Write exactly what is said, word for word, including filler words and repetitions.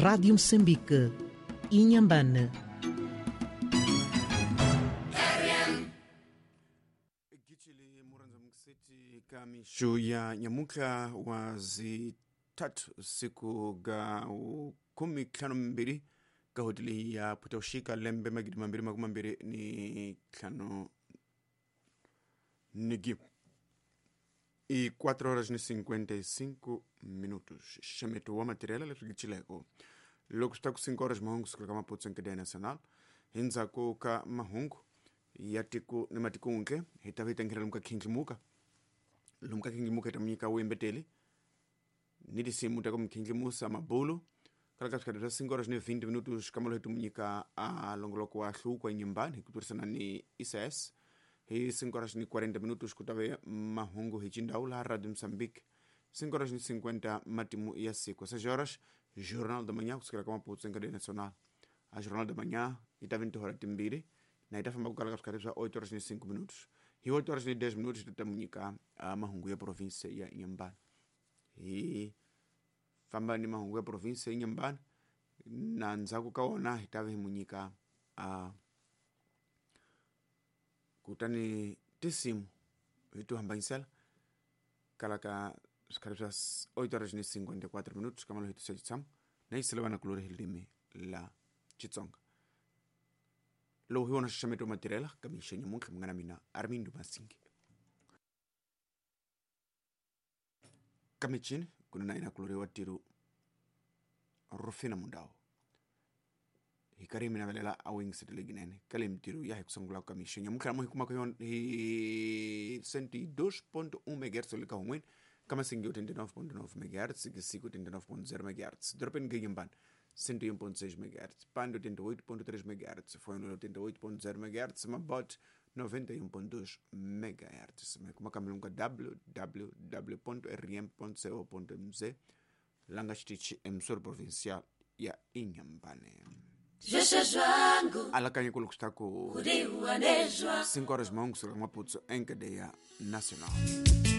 Rádio Moçambique, Inhambane. Kamishu ya nyamuka wa zitatu siku ga kumi tlhanu mbili ka hoteli ya Putaushika lembe magidi mambili makumi mambili ni tlhanu nigi e quatro horas e cinquenta e cinco minutos. Xameto wa material leswi gichileko loko swi ta ku cinco horas mahungu sukela ka Maputo nkadeya nacional hindzhaku ka mahungu ya tiko ni matikuntle hi ta va hi tanghela lomu ka khindlimuka lomu ka khindlimuka hi ta munyika wuyembeteli ni tinsimu ta ku mukhindlimusa mabulu kala ka swikhati swa cinco horas ni vinte minutos kamalo hi ti munyika a longoloko wa hluko enyumbani hi ku tirhisana ni I C S hi cinco horas ni quarenta minutos ku ta ve mahungu hi xindhawu laha Radio Moçambique cinco horas ni cinquenta matimu ya siku seis horas Jornal da Manhã kusukela ka Maputo enkadeya nacional a Jornal da Manhã yi ta ve ni tihora timbirhi na yi ta famba ku kala ka swikhati swa oito horas ni cinco minutos hi oito horas ni dez minutos ti ta munyika mahungu ya province ya Inhambane hi famba ni mahungu ya province ya Inhambane na ndzhaku ka wona hi ta ve hi munyika a kutani tinsimu hi to hambanyisela kala ka swikhati swa oito horas ni cinquenta e quatro minutos kamalo hi tisa xitshamo na yisela vanakulori hi ririmi la Xitsonga lowu hi wona xaxameto wa matirhela ka mixo nyamuntlha munghana mina Armindo Masingi ka michini ku na yena kulori wa tiro Rufina Mundau hi karhi mi navelela a wingisetele ginene ka leyi mitirho ya hi ku sungula ka mixo nyamuntlha mo hi kumaka yona hi cento e dois ponto um megahertz le ka hun'wini ka Masingi oitenta e nove ponto nove megahertz Gisiku oitenta e nove ponto zero megahertz Dorobeni Inhambane cento e um ponto seis megahertz Pando oitenta e oito ponto três megahertz Fono oitenta e oito ponto zero megahertz Mabot noventa e um ponto dois megahertz kuma kamilunga w w w ponto r m ponto co ponto m z langa xitichi emsoro provincial ya Inhambane. Alakanye ku loko swi ta ku cinco horas mahungu suka Maputo enkadeya nacional.